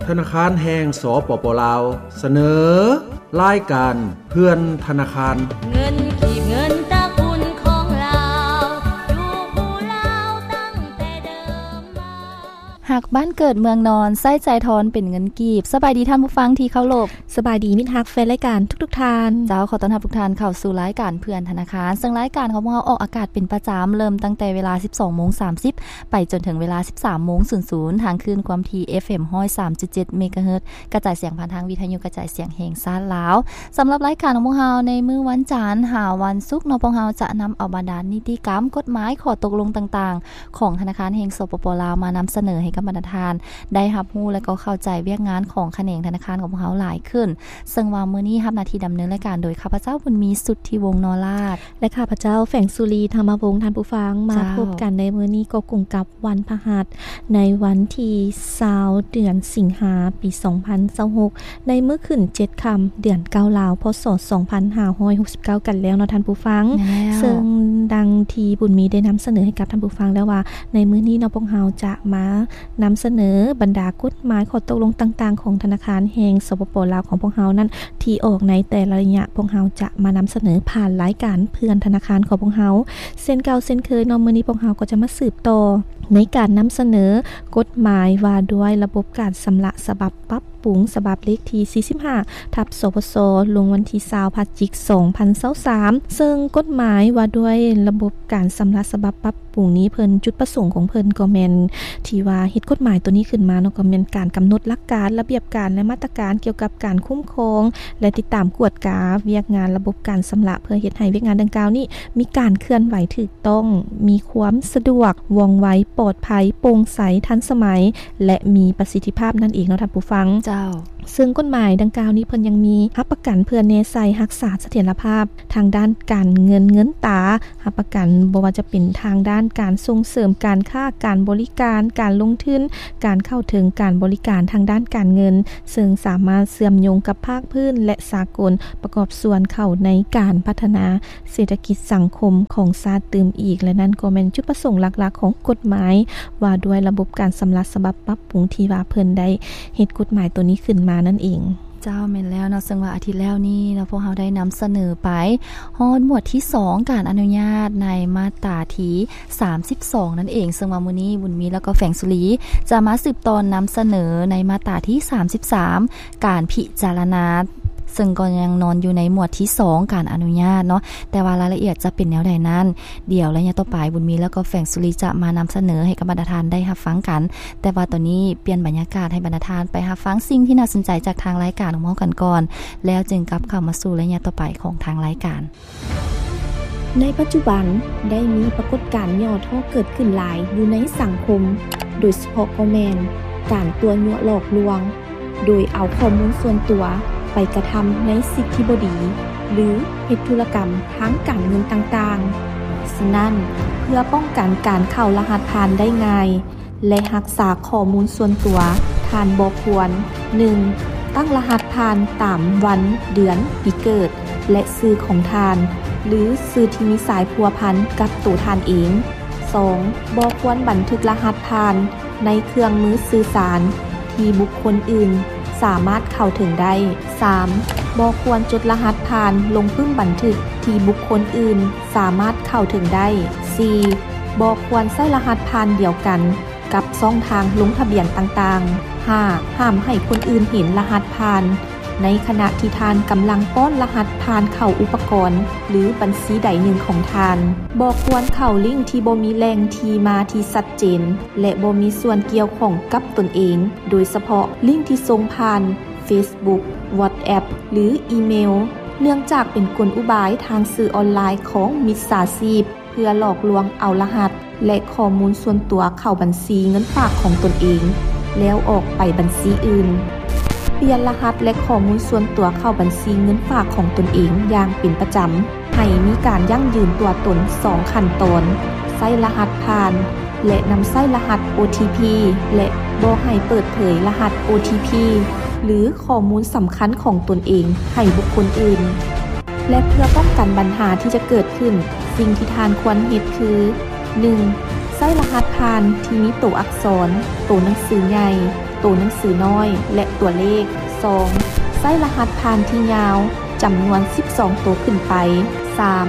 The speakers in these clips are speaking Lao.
ທະນາຄານແຫ່ງ ສປປ ລາວ ສະເໜີ ລາຍການເພື່ອນທະນາຄານ. ເງິນກີບ ເງິນຕະກຸນຂອງລາວ ຢູ່ຄູ່ລາວຕັ້ງແຕ່ເດີມມາ. ຮັກບ້ານເກີດເມືອງນອນ ໃຊ້ຈ່າຍທອນເປັນເງິນກີບ. ສະບາຍດີທ່ານຜູ້ຟັງທີ່ເຄົາລົບ. ສະບາຍດີມິດຮັກແຟນລາຍການທຸກໆທ່ານ. ເຈົ້າ, ຂໍຕ້ອນຮັບທຸກທ່ານເຂົ້າສູ່ລາຍການເພື່ອນທະນາຄານ, ເຊິ່ງລາຍການຂອງພວກເຮົາອອກອາກາດເປັນປະຈຳ ເລີ່ມຕັ້ງແຕ່ເວລາສິບສອງໂມງສາມສິບ ໄປຈົນເຖິງເວລາສິບສາມໂມງສູນສູນ ທາງຄື້ນຄວາມຖີ່ ເອັຟເອັມ ຮ້ອຍສາມຈຸດເຈັດ ເມກາເຮີດ ກະຈາຍສຽງຜ່ານທາງວິທະຍຸກະຈາຍສຽງແຫ່ງຊາດລາວ. ສຳລັບລາຍການຂອງພວກເຮົາໃນມື້ວັນຈັນຫາວັນສຸກເນາະ, ພວກເຮົາຈະນຳເອົາບັນດານິຕິກຳ, ກົດໝາຍ, ຂໍ້ຕົກລົງຕ່າງໆ ຂອງທະນາຄານແຫ່ງ ສປປ ລາວ ມານຳສະເໜີໃຫ້ກັບບັນດາທ່ານໄດ້ຮັບຮູ້ ແລະ ກໍເຂົ້າໃຈວຽກງານຂອງຂະແໜງທະນາຄານຂອງພວກເຮົາຫຼາຍຂຶ້ນ. ເຊິ່ງວ່າມື້ນີ້ຮັບໜ້າທີ່ດຳເນີນລາຍການໂດຍຂ້າພະເຈົ້າ ບຸນມີ ສຸດທິວົງ ນໍລາດ ແລະ ຂ້າພະເຈົ້າ ແຝງສຸລີ ທຳມະວົງ. ທ່ານຜູ້ຟັງ, ມາ ເຈົ້າ ພົບກັນໃນມື້ນີ້ກໍກົງກັບ ວັນພະຫັດ ໃນວັນທີຊາວ ເດືອນສິງຫາ ປີສອງພັນຊາວຫົກ ໃນມື້ຂຶ້ນເຈັດຄ່ຳ ເດືອນເກົ້າລາວ ພ.ສ. ສອງພັນຫ້າຮ້ອຍຫົກສິບເກົ້າ ກັນແລ້ວເນາະທ່ານຜູ້ຟັງ. ແມ່ນແລ້ວ. ເຊິ່ງດັ່ງທີ່ບຸນມີໄດ້ນຳສະເໜີໃຫ້ກັບທ່ານຜູ້ຟັງແລ້ວວ່າ ໃນມື້ນີ້ເນາະ ພວກເຮົາຈະມານຳສະເໜີບັນດາກົດໝາຍ ຂໍ້ຕົກລົງຕ່າງໆ ຂອງທະນາຄານແຫ່ງ ສປປ ລາວ ຂອງພວກເຮົານັ້ນ ທີ່ອອກໃນແຕ່ລະໄລຍະ ພວກເຮົາຈະມານຳສະເໜີຜ່ານລາຍການເພື່ອນທະນາຄານຂອງພວກເຮົາ. ເຊັ່ນເກົ່າເຊັ່ນເຄີຍເນາະ, ມື້ນີ້ພວກເຮົາກໍຈະມາສືບຕໍ່ໃນການນຳສະເໜີກົດໝາຍວ່າດ້ວຍລະບົບການຊຳລະສະບັບປັບປຸງ ສະບັບເລກທີສີ່ສິບຫ້າ ທັບ ສພຊ ລົງວັນທີຊາວ ພະຈິກ ສອງພັນຊາວສາມ ເຊິ່ງກົດໝາຍວ່າດ້ວຍລະບົບການຊຳລະສະບັບປັບປຸງນີ້ ເພິ່ນ ຈຸດປະສົງຂອງເພິ່ນກໍແມ່ນ ທີ່ວ່າເຮັດກົດໝາຍໂຕນີ້ຂຶ້ນມາເນາະ ກໍແມ່ນການກຳນົດຫຼັກການ, ລະບຽບການ ແລະ ມາດຕະການກ່ຽວກັບການຄຸ້ມຄອງ ແລະ ຕິດຕາມກວດກາວຽກງານລະບົບການຊຳລະ ເພື່ອເຮັດໃຫ້ວຽກງານດັ່ງກ່າວນີ້ມີການເຄື່ອນໄຫວຖືກຕ້ອງ, ມີຄວາມສະດວກ, ວ່ອງໄວ, ປອດໄພ, ໂປ່ງໃສ, ທັນສະໄໝ ແລະ ມີປະສິດທິພາບນັ້ນເອງເນາະທ່ານຜູ້ຟັງ. ເຈົ້າ. ເຊິ່ງກົດໝາຍດັ່ງກ່າວນີ້ ເພິ່ນຍັງມີຮັບປະກັນເພື່ອແນໃສ່ຮັກສາສະຖຽນລະພາບທາງດ້ານການເງິນເງິນຕາ, ຮັບປະກັນບໍ່ວ່າຈະເປັນທາງດ້ານການສົ່ງເສີມການຄ້າ, ການບໍລິການ, ການລົງທຶນ, ການເຂົ້າເຖິງການບໍລິການທາງດ້ານການເງິນ, ເຊິ່ງສາມາດເຊື່ອມໂຍງກັບພາກພື້ນ ແລະ ສາກົນ, ປະກອບສ່ວນເຂົ້າໃນການພັດທະນາເສດຖະກິດສັງຄົມຂອງຊາດຕື່ມອີກ. ແລະ ນັ້ນກໍແມ່ນຈຸດປະສົງຫຼັກໆຂອງກົດໝາຍວ່າດ້ວຍລະບົບການຊຳລະສະບັບປັບປຸງ ທີ່ວ່າເພິ່ນໄດ້ເຮັດກົດໝາຍໂຕນີ້ຂຶ້ນມານັ້ນເອງ. ເຈົ້າ, ແມ່ນແລ້ວເນາະ, ເຊິ່ງວ່າອາທິດແລ້ວນີ້ເນາະ ພວກເຮົາໄດ້ນຳສະເໜີໄປຮອດໝວດທີສອງ ການອະນຸຍາດໃນມາດຕາທີສາມສິບສອງນັ້ນເອງ, ເຊິ່ງວ່າມື້ນີ້ບຸນມີ ແລ້ວກໍແຝງສຸລີ ຈະມາສືບຕໍ່ນຳສະເໜີໃນມາດຕາທີສາມສິບສາມ ການພິຈາລະນາ, ເຊິ່ງກໍຍັງນອນຢູ່ໃນໝວດທີສອງ ການອະນຸຍາດເນາະ, ແຕ່ວ່າລາຍລະອຽດຈະເປັນແນວໃດນັ້ນ ດຽວໄລຍະຕໍ່ໄປ ບຸນມີ ແລ້ວກໍແຝງສຸລີ ຈະມານຳສະເໜີໃຫ້ກັບບັນດາທ່ານໄດ້ຮັບຟັງກັນ. ແຕ່ວ່າຕອນນີ້ປ່ຽນບັນຍາກາດໃຫ້ບັນດາທ່ານໄປຮັບຟັງສິ່ງທີ່ໜ້າສົນໃຈຈາກທາງລາຍການຂອງເຮົາກັນກ່ອນ, ແລ້ວຈຶ່ງກັບເຂົ້າມາສູ່ໄລຍະຕໍ່ໄປຂອງທາງລາຍການ. ໃນປັດຈຸບັນ ໄດ້ມີປາກົດການຫຍໍ້ທໍ້ເກີດຂຶ້ນຫຼາຍຢູ່ໃນສັງຄົມ, ໂດຍສະເພາະກໍແມ່ນການຕົວະຍົວະຫຼອກລວງ ໂດຍເອົາຂໍ້ມູນສ່ວນຕົວໄປກະທຳໃນສິ່ງທີ່ບໍ່ດີ ຫຼື ເຮັດທຸລະກຳທາງການເງິນຕ່າງໆ. ສະນັ້ນ, ເພື່ອປ້ອງກັນການເຂົ້າລະຫັດຜ່ານໄດ້ງ່າຍ ແລະ ຮັກສາຂໍ້ມູນສ່ວນຕົວ, ທ່ານບໍ່ຄວນ, ໜຶ່ງ, ຕັ້ງລະຫັດຜ່ານຕາມວັນ, ເດືອນ, ປີເກີດ ແລະ ຊື່ຂອງທ່ານ ຫຼື ຊື່ທີ່ມີສາຍພົວພັນກັບໂຕທ່ານເອງ. ສອງ, ບໍ່ຄວນບັນທຶກລະຫັດຜ່ານໃນເຄື່ອງມືສື່ສານທີ່ບຸກຄົນອື່ນສາມາດເຂົ້າເຖິງໄດ້. ສາມ, ບໍ່ຄວນຈົດລະຫັດຜ່ານລົງປຶ້ມບັນທຶກທີ່ບຸກຄົນອື່ນສາມາດເຂົ້າເຖິງໄດ້. ສີ່, ບໍ່ຄວນໃຊ້ລະຫັດຜ່ານດຽວກັນ ກັບຊ່ອງທາງລົງທະບຽນຕ່າງໆ. ຫ້າ, ຫ້າມໃຫ້ຄົນອື່ນເຫັນລະຫັດຜ່ານໃນຂະນະທີ່ທ່ານກຳລັງປ້ອນລະຫັດຜ່ານເຂົ້າອຸປະກອນ ຫຼື ບັນຊີໃດໜຶ່ງຂອງທ່ານ. ບໍ່ຄວນເຂົ້າລິ້ງທີ່ບໍ່ມີແຫຼ່ງທີ່ມາທີ່ຊັດເຈນ ແລະ ບໍ່ມີສ່ວນກ່ຽວຂ້ອງກັບຕົນເອງ, ໂດຍສະເພາະລິ້ງທີ່ສົ່ງຜ່ານ Facebook, WhatsApp ຫຼື ອີເມວ, ເນື່ອງຈາກເປັນກົນອຸບາຍທາງສື່ອອນລາຍຂອງມິດສາຊີບ ເພື່ອຫຼອກລວງເອົາລະຫັດ ແລະ ຂໍ້ມູນສ່ວນຕົວເຂົ້າບັນຊີເງິນຝາກຂອງຕົນເອງ ແລ້ວອອກໄປບັນຊີອື່ນ. ປ່ຽນລະຫັດ ແລະ ຂໍ້ມູນສ່ວນຕົວເຂົ້າບັນຊີເງິນຝາກຂອງຕົນເອງຢ່າງເປັນປະຈຳ. ໃຫ້ມີການຢັ້ງຢືນຕົວຕົນສອງຂັ້ນຕອນ, ໃຊ້ລະຫັດຜ່ານ ແລະ ນຳໃຊ້ລະຫັດ ໂອທີພີ ແລະ ບໍ່ໃຫ້ເປີດເຜີຍລະຫັດ ໂອທີພີ ຫຼື ຂໍ້ມູນສຳຄັນຂອງຕົນເອງໃຫ້ບຸກຄົນອື່ນ. ແລະ ເພື່ອປ້ອງກັນບັນຫາທີ່ຈະເກີດຂຶ້ນ, ສິ່ງທີ່ທ່ານຄວນເຮັດຄື ໜຶ່ງ, ໃຊ້ລະຫັດຜ່ານທີ່ມີໂຕອັກສອນ, ໂຕໜັງສືໃຫຍ່, ໂຕໜັງສືນ້ອຍ ແລະ ຕົວເລກ. ສອງ ໃຊ້ລະຫັດຜ່ານທີ່ຍາວ ຈຳນວນສິບສອງໂຕຂຶ້ນໄປ. ສາມ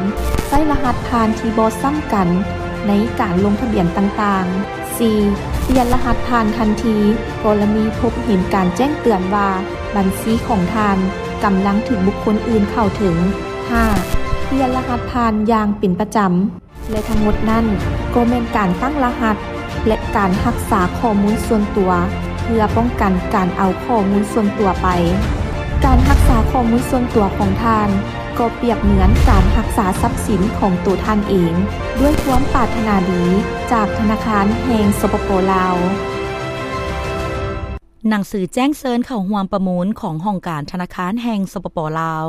ໃຊ້ລະຫັດຜ່ານທີ່ບໍ່ຊ້ຳກັນໃນການລົງທະບຽນຕ່າງໆ. ສີ່ ປ່ຽນລະຫັດຜ່ານທັນທີ ກໍລະນີພົບເຫັນການແຈ້ງເຕືອນວ່າບັນຊີຂອງທ່ານກຳລັງຖືກບຸກຄົນອື່ນເຂົ້າເຖິງ. ຫ້າ ປ່ຽນລະຫັດຜ່ານຢ່າງເປັນປະຈຳ. ແລະ ທັງໝົດນັ້ນກໍແມ່ນການຕັ້ງລະຫັດ ແລະ ການຮັກສາຂໍ້ມູນສ່ວນຕົວ ເພື່ອປ້ອງກັນການເອົາຂໍ້ມູນສ່ວນຕົວໄປ. ການຮັກສາຂໍ້ມູນສ່ວນຕົວຂອງທ່ານ ກໍປຽບເໝືອນການຮັກສາຊັບສິນຂອງໂຕທ່ານເອງ ດ້ວຍຄວາມປາດຖະໜາດີຈາກທະນາຄານແຫ່ງ ສປປ ລາວ. ໜັງສືແຈ້ງເຊີນເຂົ້າຮ່ວມປະມູນຂອງຫ້ອງການທະນາຄານແຫ່ງ ສປປ ລາວ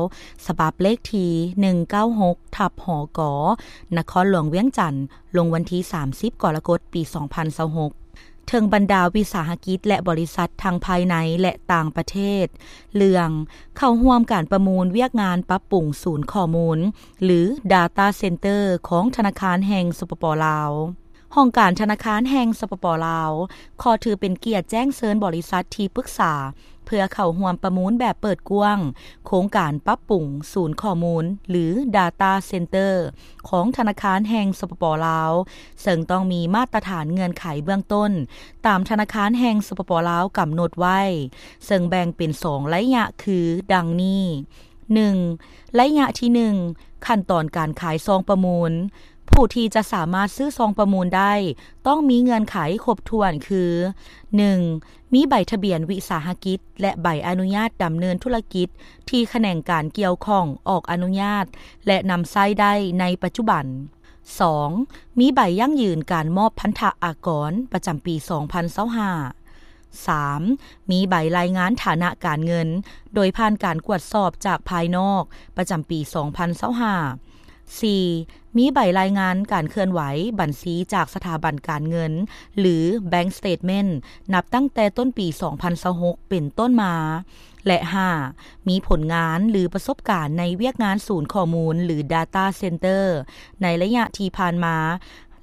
ສະບັບເລກທີ ໜຶ່ງເກົ້າຫົກ ທັບ ຫກ ນະຄອນຫຼວງວຽງຈັນ ລົງວັນທີ ສາມສິບ ກໍລະກົດ ປີ ສອງພັນຊາວຫົກ ເຖິງບັນດາວິສາຫະກິດ ແລະ ບໍລິສັດທັງພາຍໃນ ແລະ ຕ່າງປະເທດ ເລື່ອງເຂົ້າຮ່ວມການປະມູນວຽກງານປັບປຸງສູນຂໍ້ມູນ ຫຼື Data Center ຂອງທະນາຄານແຫ່ງ ສປປ ລາວ. ຫ້ອງການທະນາຄານແຫ່ງ ສປປ ລາວ ຂໍຖືເປັນກຽດແຈ້ງເຊີນບໍລິສັດທີ່ປຶກສາ ເພື່ອເຂົ້າຮ່ວມປະມູນແບບເປີດກວ້າງ ໂຄງການປັບປຸງສູນຂໍ້ມູນ ຫຼື Data Center ຂອງທະນາຄານແຫ່ງ ສປປ ລາວ ເຊິ່ງຕ້ອງມີມາດຕະຖານເງື່ອນໄຂເບື້ອງຕົ້ນ ຕາມທະນາຄານແຫ່ງ ສປປ ລາວ ກຳນົດໄວ້ ເຊິ່ງແບ່ງເປັນສອງໄລຍະຄື ດັ່ງນີ້. ໜຶ່ງ ໄລຍະທີໜຶ່ງ ຂັ້ນຕອນການຂາຍຊອງປະມູນ. ຜູ້ທີ່ຈະສາມາດຊື້ຊອງປະມູນໄດ້ ຕ້ອງມີເງື່ອນໄຂຄົບຖ້ວນຄື ໜຶ່ງ ມີໃບທະບຽນວິສາຫະກິດ ແລະ ໃບອະນຸຍາດດຳເນີນທຸລະກິດ ທີ່ຂະແໜງການກ່ຽວຂ້ອງອອກອະນຸຍາດ ແລະ ນຳໃຊ້ໄດ້ໃນປັດຈຸບັນ. ສອງ ມີໃບຢັ້ງຢືນການມອບພັນທະອາກອນປະຈຳປີ ສອງພັນຊາວຫ້າ. ສາມ ມີໃບລາຍງານຖານະການເງິນ ໂດຍຜ່ານການກວດສອບຈາກພາຍນອກ ປະຈຳປີ ສອງພັນຊາວຫ້າ. ສີ່ ມີໃບລາຍງານການເຄື່ອນໄຫວບັນຊີຈາກສະຖາບັນການເງິນ ຫຼື Bank Statement ນັບຕັ້ງແຕ່ຕົ້ນປີ ສອງພັນຊາວຫົກ ເປັນຕົ້ນມາ. ແລະ ຫ້າ ມີຜົນງານ ຫຼື ປະສົບການໃນວຽກງານສູນຂໍ້ມູນ ຫຼື Data Center ໃນໄລຍະທີ່ຜ່ານມາ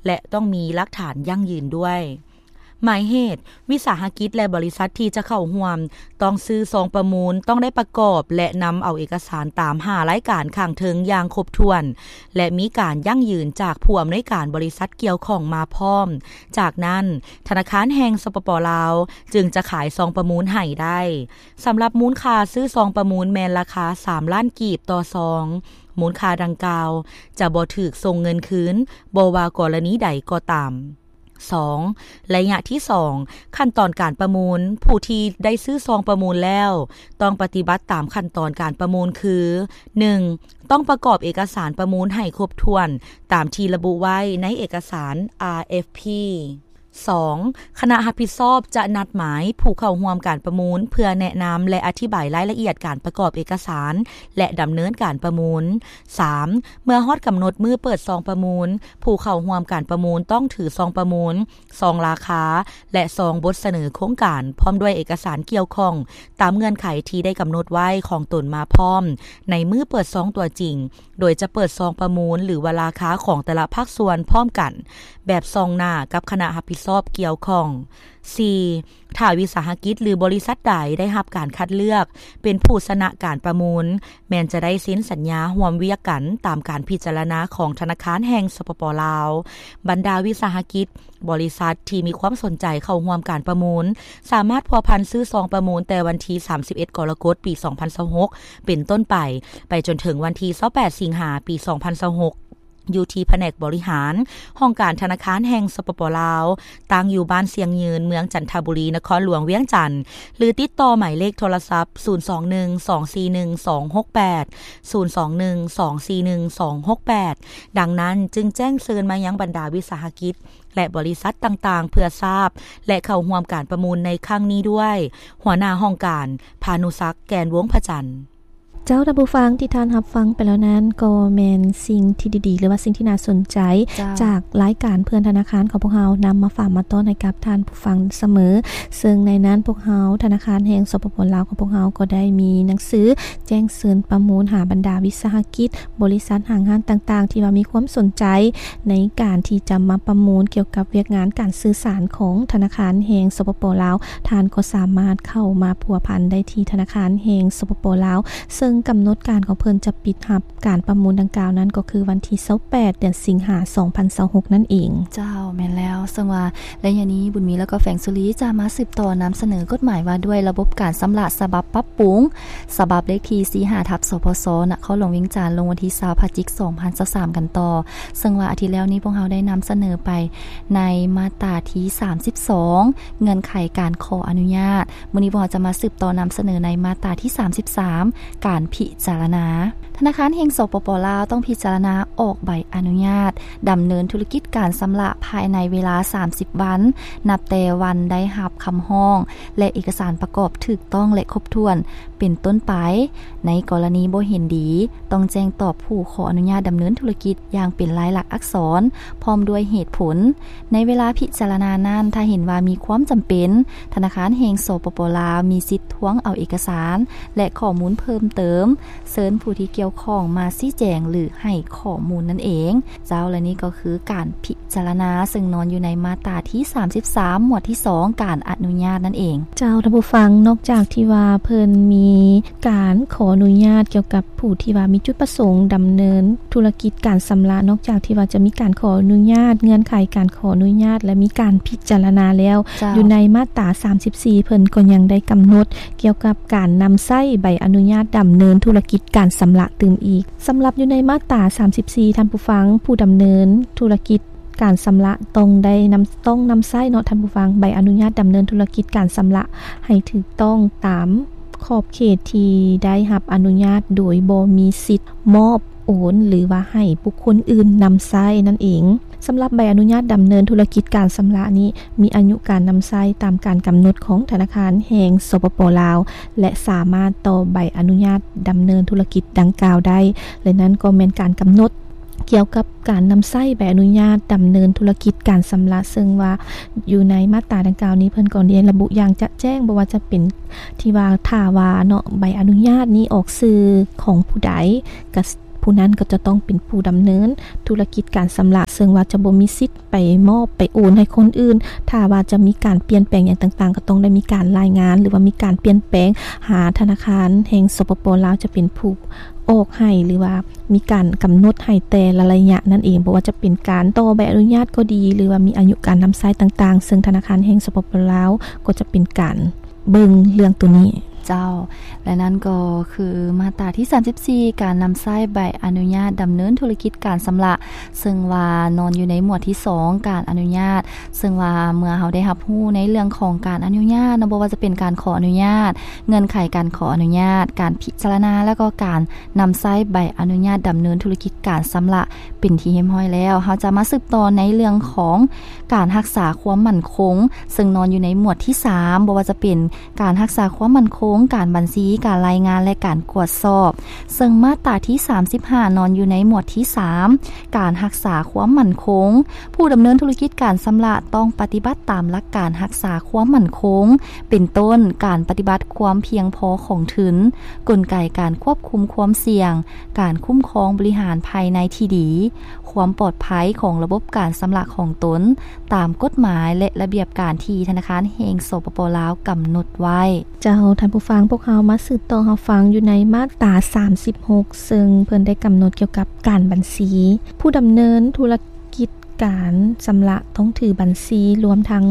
ແລະ ຕ້ອງມີຫຼັກຖານຢັ້ງຢືນດ້ວຍ. ໝາຍເຫດ, ວິສາຫະກິດ ແລະ ບໍລິສັດທີ່ຈະເຂົ້າຮ່ວມ ຕ້ອງຊື້ຊອງປະມູນ, ຕ້ອງໄດ້ປະກອບ ແລະ ນຳເອົາເອກະສານຕາມຫ້າລາຍການຂ້າງເທິງຢ່າງຄົບຖ້ວນ ແລະ ມີການຢັ້ງຢືນຈາກຜູ້ອຳນວຍການບໍລິສັດກ່ຽວຂ້ອງມາພ້ອມ. ຈາກນັ້ນ, ທະນາຄານແຫ່ງ ສປປ ລາວ ຈຶ່ງຈະຂາຍຊອງປະມູນໃຫ້ໄດ້. ສຳລັບມູນຄ່າຊື້ຊອງປະມູນແມ່ນລາຄາສາມລ້ານກີບຕໍ່ຊອງ. ມູນຄ່າດັ່ງກ່າວຈະບໍ່ຖືກສົ່ງເງິນຄືນ, ບໍ່ວ່າກໍລະນີໃດກໍຕາມ. ສອງ ໄລຍະທີສອງ ຂັ້ນຕອນການປະມູນ. ຜູ້ທີ່ໄດ້ຊື້ຊອງປະມູນແລ້ວ ຕ້ອງປະຕິບັດຕາມຂັ້ນຕອນການປະມູນຄື ໜຶ່ງ ຕ້ອງປະກອບເອກະສານປະມູນໃຫ້ຄົບຖ້ວນຕາມທີ່ລະບຸໄວ້ໃນເອກະສານ ອາ ເອັຟ ພີ. ສອງ ຄະນະຮັບຜິດຊອບຈະນັດໝາຍຜູ້ເຂົ້າຮ່ວມການປະມູນ ເພື່ອແນະນຳ ແລະ ອະທິບາຍລາຍລະອຽດການປະກອບເອກະສານ ແລະ ດຳເນີນການປະມູນ. ສາມ ເມື່ອຮອດກຳນົດມື້ເປີດຊອງປະມູນ, ຜູ້ເຂົ້າຮ່ວມການປະມູນຕ້ອງຖືຊອງປະມູນ, ຊອງລາຄາ ແລະ ຊອງບົດສະເໜີໂຄງການ ພ້ອມດ້ວຍເອກະສານກ່ຽວຂ້ອງ ຕາມເງື່ອນໄຂທີ່ໄດ້ກຳນົດໄວ້ຂອງຕົນມາພ້ອມ ໃນມື້ເປີດຊອງຕົວຈິງ, ໂດຍຈະເປີດຊອງປະມູນ ຫຼື ວ່າລາຄາຂອງແຕ່ລະພາກສ່ວນພ້ອມກັນ ແບບສ່ອງໜ້າກັບຄະນະຮັບຜິດຊອບກ່ຽວຂ້ອງ. ສີ່ ຖ້າວິສາຫະກິດ ຫຼື ບໍລິສັດໃດໄດ້ຮັບການຄັດເລືອກເປັນຜູ້ຊະນະການປະມູນ, ແມ່ນຈະໄດ້ເຊັນສັນຍາຮ່ວມວຽກກັນຕາມການພິຈາລະນາຂອງທະນາຄານແຫ່ງ ສປປ ລາວ. ບັນດາວິສາຫະກິດ, ບໍລິສັດທີ່ມີຄວາມສົນໃຈເຂົ້າຮ່ວມການປະມູນ ສາມາດພົວພັນຊື້ຊອງປະມູນແຕ່ວັນທີ ສາມສິບເອັດ ກໍລະກົດ ປີ ສອງພັນຊາວຫົກ ເປັນຕົ້ນໄປ, ໄປຈົນເຖິງວັນທີ ຊາວແປດ ສິງຫາ ປີ ສອງພັນຊາວຫົກ ຢູ່ທີ່ພະແນກບໍລິຫານ ຫ້ອງການທະນາຄານແຫ່ງ ສປປ ລາວ, ຕັ້ງຢູ່ບ້ານຊຽງຍືນ, ເມືອງຈັນທະບູລີ, ນະຄອນຫຼວງວຽງຈັນ ຫຼື ຕິດຕໍ່ໝາຍເລກໂທລະສັບ ສູນສອງໜຶ່ງ ສອງສີ່ໜຶ່ງ ສອງຫົກແປດ, ສູນສອງໜຶ່ງ ສອງສີ່ໜຶ່ງ ສອງຫົກແປດ. ດັ່ງນັ້ນ, ຈຶ່ງແຈ້ງເຊີນມາຍັງບັນດາວິສາຫະກິດ ແລະ ບໍລິສັດຕ່າງໆ ເພື່ອຊາບ ແລະ ເຂົ້າຮ່ວມການປະມູນໃນຄັ້ງນີ້ດ້ວຍ. ຫົວໜ້າຫ້ອງການ ພານຸສັກ ແກ່ນວົງພະຈັນ. ເຈົ້າ ທ່ານຜູ້ຟັງທີ່ທ່ານຮັບຟັງໄປແລ້ວນັ້ນ ກໍແມ່ນສິ່ງທີ່ດີໆ ຫຼືວ່າສິ່ງທີ່ໜ້າສົນໃຈ ເຈົ້າ ຈາກລາຍການເພື່ອນທະນາຄານຂອງພວກເຮົາ ນຳມາຝາກມາຕ້ອນໃຫ້ກັບທ່ານຜູ້ຟັງສະເໝີ. ເຊິ່ງໃນນັ້ນພວກເຮົາ ທະນາຄານແຫ່ງ ສປປ ລາວ ຂອງພວກເຮົາ ກໍໄດ້ມີໜັງສືແຈ້ງເຊີນປະມູນຫາບັນດາວິສາຫະກິດ, ບໍລິສັດ, ຫ້າງຮ້ານຕ່າງໆ ທີ່ວ່າມີຄວາມສົນໃຈໃນການທີ່ຈະມາປະມູນກ່ຽວກັບວຽກງານການສື່ສານຂອງທະນາຄານແຫ່ງ ສປປ ລາວ. ທ່ານກໍສາມາດເຂົ້າມາພົວພັນໄດ້ທີ່ທະນາຄານແຫ່ງ ສປປ ລາວ ເຊິ່ງກຳນົດການຂອງເພິ່ນຈະປິດຮັບການປະມູນດັ່ງກ່າວນັ້ນ ກໍຄືວັນທີຊາວແປດ ເດືອນສິງຫາ ສອງພັນຊາວຫົກນັ້ນເອງ. ເຈົ້າ ແມ່ນແລ້ວ. ເຊິ່ງວ່າໄລຍະນີ້ ບຸນມີ ແລະ ກໍແຟງສຸລີ ຈະມາສືບຕໍ່ນຳສະເໜີກົດໝາຍວ່າດ້ວຍລະບົບການຊຳລະ ສະບັບປັບປຸງ ສະບັບເລກທີສີ່ຫ້າ ທັບ ສພສ ນະຄອນຫຼວງວຽງຈັນ ລົງວັນທີຊາວ ພະຈິກ ສອງພັນຊາວສາມ ກັນຕໍ່. ເຊິ່ງວ່າອາທິດແລ້ວນີ້ ພວກເຮົາໄດ້ນຳສະເໜີໄປໃນມາດຕາທີສາມສິບສອງ ເງື່ອນໄຂການຂໍອະນຸຍາດ. ມື້ນີ້ພວກເຮົາຈະມາສືບຕໍ່ນຳສະເໜີໃນມາດຕາທີສາມສິບສາມ ການພິຈາລະນາ. ທະນາຄານແຫ່ງ ສປປ ລາວ ຕ້ອງພິຈາລະນາອອກໃບອະນຸຍາດດຳເນີນທຸລະກິດການຊຳລະພາຍໃນເວລາສາມສິບວັນ ນັບແຕ່ວັນໄດ້ຮັບຄຳຮ້ອງ ແລະ ເອກະສານປະກອບຖືກຕ້ອງ ແລະ ຄົບຖ້ວນ ເປັນຕົ້ນໄປ. ໃນກໍລະນີບໍ່ເຫັນດີ, ຕ້ອງແຈ້ງຕອບຜູ້ຂໍອະນຸຍາດດຳເນີນທຸລະກິດຢ່າງເປັນລາຍລັກອັກສອນ ພ້ອມດ້ວຍເຫດຜົນ. ໃນເວລາພິຈາລະນານັ້ນ, ຖ້າເຫັນວ່າມີຄວາມຈຳເປັນ, ທະນາຄານແຫ່ງ ສປປ ລາວ ມີສິດທວງເອົາເອກະສານ ແລະ ຂໍ້ມູນເພີ່ມເຕີມ, ເຊີນຜູ້ທີ່ກ່ຽວຂ້ອງມາຊີ້ແຈງ ຫຼື ໃຫ້ຂໍ້ມູນນັ້ນເອງ. ເຈົ້າ ແລະ ນີ້ກໍຄືການພິຈາລະນາ ເຊິ່ງນອນຢູ່ໃນມາດຕາທີສາມສິບສາມ ໝວດທີສອງ ການອະນຸຍາດນັ້ນເອງ. ເຈົ້າ ທ່ານຜູ້ຟັງ, ນອກຈາກທີ່ວ່າເພິ່ນມີການຂໍອະນຸຍາດກ່ຽວກັບຜູ້ທີ່ວ່າມີຈຸດປະສົງດຳເນີນທຸລະກິດການຊຳລະ, ນອກຈາກທີ່ວ່າຈະມີການຂໍອະນຸຍາດ, ເງື່ອນໄຂການຂໍອະນຸຍາດ ແລະ ມີການພິຈາລະນາແລ້ວ, ເຈົ້າ ຢູ່ໃນມາດຕາສາມສິບສີ່ ເພິ່ນກໍຍັງໄດ້ກຳນົດກ່ຽວກັບການນຳໃຊ້ໃບອະນຸຍາດດຳເນີນທຸລະກິດການຊຳລະຕື່ມອີກ. ສຳລັບຢູ່ໃນມາດຕາສາມສິບສີ່ ທ່ານຜູ້ຟັງ, ຜູ້ດຳເນີນທຸລະກິດການຊຳລະຕ້ອງໄດ້ນຳ, ຕ້ອງນຳໃຊ້ເນາະ ທ່ານຜູ້ຟັງ, ໃບອະນຸຍາດດຳເນີນທຸລະກິດການຊຳລະໃຫ້ຖືກຕ້ອງຕາມຂອບເຂດທີ່ໄດ້ຮັບອະນຸຍາດ ໂດຍບໍ່ມີສິດມອບ, ໂອນ ຫຼືວ່າໃຫ້ບຸກຄົນອື່ນນຳໃຊ້ນັ້ນເອງ. ສຳລັບໃບອະນຸຍາດດຳເນີນທຸລະກິດການຊຳລະນີ້ ມີອາຍຸການນຳໃຊ້ຕາມການກຳນົດຂອງທະນາຄານແຫ່ງ ສປປ ລາວ ແລະ ສາມາດຕໍ່ໃບອະນຸຍາດດຳເນີນທຸລະກິດດັ່ງກ່າວໄດ້ ແລະ ນັ້ນກໍແມ່ນການກຳນົດກ່ຽວກັບການນຳໃຊ້ໃບອະນຸຍາດດຳເນີນທຸລະກິດການຊຳລະ, ເຊິ່ງວ່າຢູ່ໃນມາດຕາດັ່ງກ່າວນີ້ ເພິ່ນກໍໄດ້ລະບຸຢ່າງຈະແຈ້ງ, ບໍ່ວ່າຈະເປັນທີ່ວ່າ ຖ້າວ່າເນາະ ໃບອະນຸຍາດນີ້ອອກຊື່ຂອງຜູ້ໃດ, ກະ ຜູ້ນັ້ນກໍຈະຕ້ອງເປັນຜູ້ດຳເນີນທຸລະກິດການຊຳລະ, ເຊິ່ງວ່າຈະບໍ່ມີສິດໄປມອບໄປໂອນໃຫ້ຄົນອື່ນ. ຖ້າວ່າຈະມີການປ່ຽນແປງຫຍັງຕ່າງໆ ກໍຕ້ອງໄດ້ມີການລາຍງານ ຫຼືວ່າມີການປ່ຽນແປງຫາທະນາຄານແຫ່ງ ສປປ ລາວ ຈະເປັນຜູ້ອອກໃຫ້ ຫຼືວ່າມີການກຳນົດໃຫ້ແຕ່ລະໄລຍະນັ້ນເອງ, ບໍ່ວ່າຈະເປັນການຕໍ່ໃບອະນຸຍາດກໍດີ ຫຼືວ່າມີອາຍຸການນຳໃຊ້ຕ່າງໆ, ເຊິ່ງທະນາຄານແຫ່ງ ສປປ ລາວ ກໍຈະເປັນການ ເບິ່ງເລື່ອງໂຕນີ້. ເຈົ້າ ແລະ ນັ້ນກໍຄືມາດຕາທີສາມສິບສີ່ ການນຳໃຊ້ໃບອະນຸຍາດດຳເນີນທຸລະກິດການຊຳລະ, ເຊິ່ງວ່ານອນຢູ່ໃນໝວດທີສອງ ການອະນຸຍາດ, ເຊິ່ງວ່າເມື່ອເຮົາໄດ້ຮັບຮູ້ໃນເລື່ອງຂອງການອະນຸຍາດເນາະ, ບໍ່ວ່າຈະເປັນການຂໍອະນຸຍາດ, ເງື່ອນໄຂການຂໍອະນຸຍາດ, ການພິຈາລະນາ ແລ້ວກໍການນຳໃຊ້ໃບອະນຸຍາດດຳເນີນທຸລະກິດການຊຳລະ ເປັນທີ່ຮຽບຮ້ອຍແລ້ວ, ເຮົາຈະມາສືບຕໍ່ໃນເລື່ອງຂອງການຮັກສາຄວາມໝັ້ນຄົງ, ເຊິ່ງນອນຢູ່ໃນໝວດທີສາມ, ບໍ່ວ່າຈະເປັນການຮັກສາຄວາມໝັ້ນຄົງ, ການບັນຊີ, ການລາຍງານ ແລະ ການກວດສອບ. ເຊິ່ງມາດຕາທີສາມສິບຫ້າ ນອນຢູ່ໃນໝວດທີສາມ, ການຮັກສາຄວາມໝັ້ນຄົງ. ຜູ້ດຳເນີນທຸລະກິດການຊຳລະຕ້ອງປະຕິບັດຕາມຫຼັກການຮັກສາຄວາມໝັ້ນຄົງ, ເປັນຕົ້ນ ການປະຕິບັດຄວາມພຽງພໍຂອງທຶນ, ກົນໄກການຄວບຄຸມຄວາມສ່ຽງ, ການຄຸ້ມຄອງບໍລິຫານພາຍໃນທີ່ດີ, ຄວາມປອດໄພຂອງລະບົບການຊຳລະຂອງຕົນ ຕາມກົດໝາຍ ແລະ ລະບຽບການທີ່ທະນາຄານແຫ່ງ ສປປ ລາວ ກຳນົດໄວ້. ເຈົ້າ ທ່ານຜູ້ຟັງ, ພວກເຮົາມາສືບຕໍ່ຮັບຟັງຢູ່ໃນມາດຕາສາມສິບຫົກ ເຊິ່ງເພິ່ນໄດ້ກຳນົດກ່ຽວກັບການບັນຊີ. ຜູ້ດຳເນີນທຸລະກິດການຊຳລະຕ້ອງຖືບັນຊີ ລວມທັງ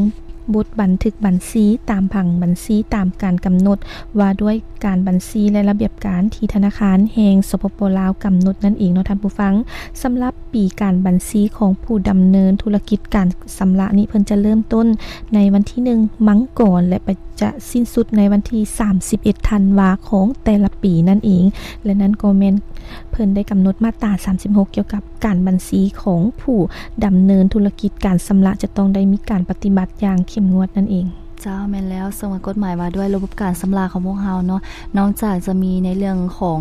ບົດບັນທຶກບັນຊີຕາມຜັງບັນຊີ ຕາມການກຳນົດ ວ່າດ້ວຍການບັນຊີ ແລະ ລະບຽບການທີ່ທະນາຄານແຫ່ງ ສປປ ລາວ ກຳນົດນັ້ນເອງເນາະທ່ານຜູ້ຟັງ. ສຳລັບປີການບັນຊີຂອງຜູ້ດຳເນີນທຸລະກິດການຊຳລະນີ້ ເພິ່ນຈະເລີ່ມຕົ້ນໃນວັນທີໜຶ່ງ ມັງກອນ ແລະ ໄປ ຈະສິ້ນສຸດໃນວັນທີສາມສິບເອັດ ທັນວາ ຂອງແຕ່ລະປີນັ້ນເອງ ແລະ ນັ້ນກໍແມ່ນເພິ່ນໄດ້ກຳນົດມາດຕາສາມສິບຫົກ ກ່ຽວກັບການບັນຊີຂອງຜູ້ດຳເນີນທຸລະກິດການຊຳລະ ຈະຕ້ອງໄດ້ມີການປະຕິບັດຢ່າງເຂັ້ມງວດນັ້ນເອງ. ເຈົ້າ ແມ່ນແລ້ວ ເຊິ່ງວ່າກົດໝາຍວ່າດ້ວຍລະບົບການຊຳລະຂອງພວກເຮົາເນາະ ນອກຈາກຈະມີໃນເລື່ອງຂອງ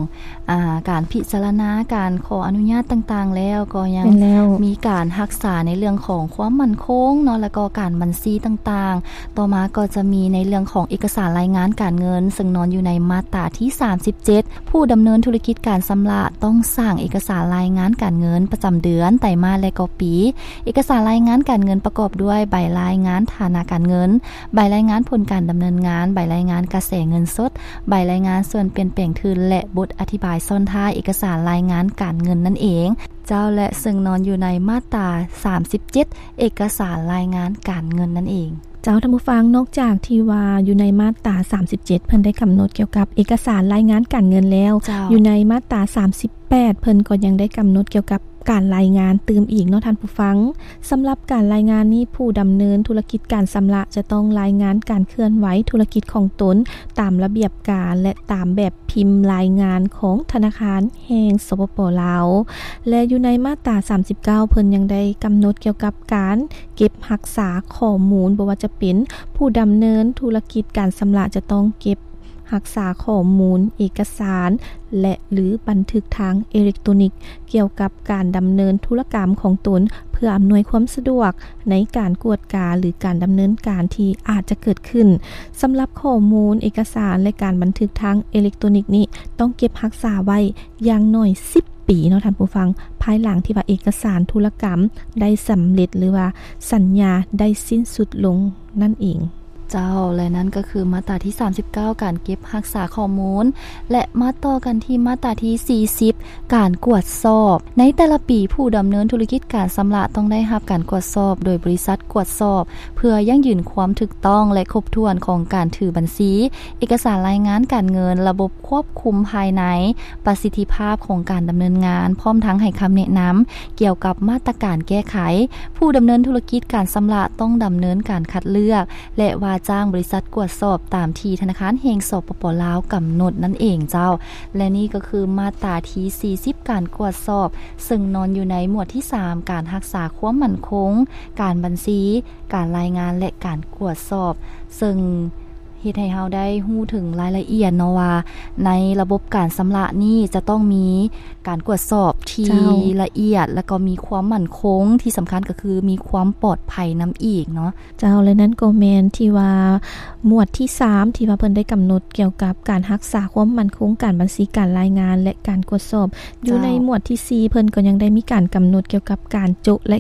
ອາ ການພິຈາລະນາ ການຂໍອະນຸຍາດຕ່າງໆແລ້ວ ກໍຍັງ ແມ່ນແລ້ວ ມີການຮັກສາໃນເລື່ອງຂອງຄວາມໝັ້ນຄົງເນາະ ແລ້ວກໍການບັນຊີຕ່າງໆ. ຕໍ່ມາກໍຈະມີໃນເລື່ອງຂອງເອກະສານລາຍງານການເງິນ ເຊິ່ງນອນຢູ່ໃນມາດຕາທີສາມສິບເຈັດ ຜູ້ດຳເນີນທຸລະກິດການຊຳລະຕ້ອງສ້າງເອກະສານລາຍງານການເງິນປະຈຳເດືອນ, ໄຕມາດ ແລະ ກໍປີ. ເອກະສານລາຍງານການເງິນປະກອບດ້ວຍໃບລາຍງານຖານະການເງິນ, ໃບລາຍງານຜົນການດຳເນີນງານ, ໃບລາຍງານກະແສເງິນສົດ, ໃບລາຍງານສ່ວນປ່ຽນແປງທຶນ ແລະ ບົດອະທິບາຍຊ້ອນທ້າຍເອກະສານລາຍງານການເງິນນັ້ນເອງ. ເຈົ້າ ແລະ ເຊິ່ງນອນຢູ່ໃນມາດຕາສາມສິບເຈັດ ເອກະສານລາຍງານການເງິນນັ້ນເອງ. ເຈົ້າ ທ່ານຜູ້ຟັງ, ນອກຈາກທີ່ວ່າຢູ່ໃນມາດຕາສາມສິບເຈັດ ເພິ່ນໄດ້ກຳນົດກ່ຽວກັບເອກະສານລາຍງານການເງິນແລ້ວ, ເຈົ້າ ຢູ່ໃນມາດຕາສາມສິບແປດ ເພິ່ນກໍຍັງໄດ້ກຳນົດກ່ຽວກັບການລາຍງານຕື່ມອີກເນາະທ່ານຜູ້ຟັງ. ສຳລັບການລາຍງານນີ້ ຜູ້ດຳເນີນທຸລະກິດການຊຳລະຈະຕ້ອງລາຍງານການເຄື່ອນໄຫວທຸລະກິດຂອງຕົນຕາມລະບຽບການ ແລະ ຕາມແບບພິມລາຍງານຂອງທະນາຄານແຫ່ງ ສປປ ລາວ ແລະ ຢູ່ໃນມາດຕາສາມສິບເກົ້າ ເພິ່ນຍັງໄດ້ກຳນົດກ່ຽວກັບການເກັບຮັກສາຂໍ້ມູນ ບໍ່ວ່າຈະເປັນຜູ້ດຳເນີນທຸລະກິດການຊຳລະຈະຕ້ອງເກັບຮັກສາຂໍ້ມູນເອກະສານ ແລະ ຫຼື ບັນທຶກທາງເອເລັກໂຕນິກ ກ່ຽວກັບການດຳເນີນທຸລະກຳຂອງຕົນ ເພື່ອອຳນວຍຄວາມສະດວກໃນການກວດກາ ຫຼື ການດຳເນີນການທີ່ອາດຈະເກີດຂຶ້ນ. ສຳລັບຂໍ້ມູນເອກະສານ ແລະ ການບັນທຶກທາງເອເລັກໂຕນິກນີ້ ຕ້ອງເກັບຮັກສາໄວ້ຢ່າງໜ້ອຍສິບປີເນາະທ່ານຜູ້ຟັງ, ພາຍຫຼັງທີ່ວ່າເອກະສານທຸລະກຳໄດ້ສຳເລັດ ຫຼືວ່າສັນຍາໄດ້ສິ້ນສຸດລົງນັ້ນເອງ. ເຈົ້າ ແລະ ນັ້ນກໍຄືມາດຕາທີສາມສິບເກົ້າ ການເກັບຮັກສາຂໍ້ມູນ ແລະ ມາຕໍ່ກັນທີ່ມາດຕາທີສີ່ສິບ ການກວດສອບ. ໃນແຕ່ລະປີ ຜູ້ດຳເນີນທຸລະກິດການຊຳລະຕ້ອງໄດ້ຮັບການກວດສອບໂດຍບໍລິສັດກວດສອບ ເພື່ອຢັ້ງຢືນຄວາມຖືກຕ້ອງ ແລະ ຄົບຖ້ວນຂອງການຖືບັນຊີ, ເອກະສານລາຍງານການເງິນ, ລະບົບຄວບຄຸມພາຍໃນ, ປະສິດທິພາບຂອງການດຳເນີນງານ, ພ້ອມທັງໃຫ້ຄຳແນະນຳກ່ຽວກັບມາດຕະການແກ້ໄຂ. ຜູ້ດຳເນີນທຸລະກິດການຊຳລະຕ້ອງດຳເນີນການຄັດເລືອກ ແລະ ວ່າຈ້າງບໍລິສັດກວດສອບຕາມທີ່ທະນາຄານແຫ່ງ ສປປ ລາວ ກຳນົດນັ້ນເອງເຈົ້າ. ແລະ ນີ້ກໍຄືມາດຕາທີສີ່ສິບ ການກວດສອບ, ເຊິ່ງນອນຢູ່ໃນໝວດທີສາມ ການຮັກສາຄວາມໝັ້ນຄົງ, ການບັນຊີ, ການລາຍງານ ແລະ ການກວດສອບ, ເຊິ່ງເຮັດໃຫ້ເຮົາໄດ້ຮູ້ເຖິງລາຍລະອຽດເນາະວ່າ ໃນລະບົບການຊຳລະນີ້ຈະຕ້ອງມີການກວດສອບທີ່ ເຈົ້າ ລະອຽດ ແລະ ກໍມີຄວາມໝັ້ນຄົງ, ທີ່ສຳຄັນກໍຄືມີຄວາມປອດໄພນຳອີກເນາະ. ເຈົ້າ ແລະ ນັ້ນກໍແມ່ນທີ່ວ່າໝວດທີສາມ ທີ່ວ່າເພິ່ນໄດ້ກຳນົດກ່ຽວກັບການຮັກສາຄວາມໝັ້ນຄົງ, ການບັນຊີ, ການລາຍງານ ແລະ ການກວດສອບ. ຢູ່ ເຈົ້າ ໃນໝວດທີສີ່ ເພິ່ນກໍຍັງໄດ້ມີການກຳນົດກ່ຽວກັບການໂຈະ ແລະ